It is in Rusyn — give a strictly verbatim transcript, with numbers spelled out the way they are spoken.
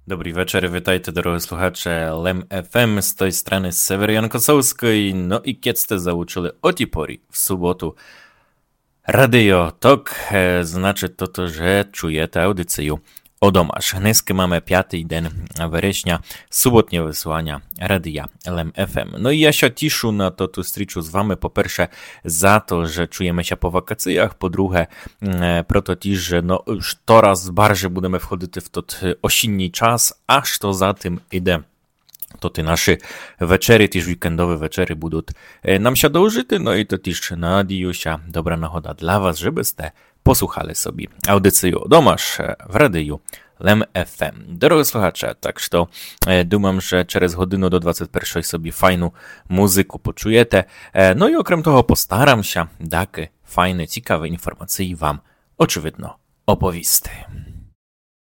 Добрый вечер, витайте, дорогы слухаче Лем ФМ, з той страны Север Янкосовскый. Но і кєд сте заучили о тій порі в суботу радіо, так, е, значить тото, же чуєте аудицію Одомаш. Днеска маме пятый ден вересня, суботнє высыланя радія Лем ФМ. Но і я ся тішу на тоту стрічу з вами, по перше, за то, же чуєме ся по вакациях, по друге, м, е, прото тіж, же, но, штораз барже будеме входити в тот, е, осінній час, а што за тым іде, то тоты нашы вечеры, тіж вікендовы вечеры будуть, е, нам ся довжити, но і то тіж, надію ся, добра нагода для вас, жебы сте послухали собі аудицію Одомаш, е, в радію Лем ФМ. Дорогы слухаче, так што, е, думам, же через годину до двадцять першой собі файну музыку почуєте. Е, но і окрем того постарам ся дакы файны, цікавы інформації вам, очевидно, оповісти.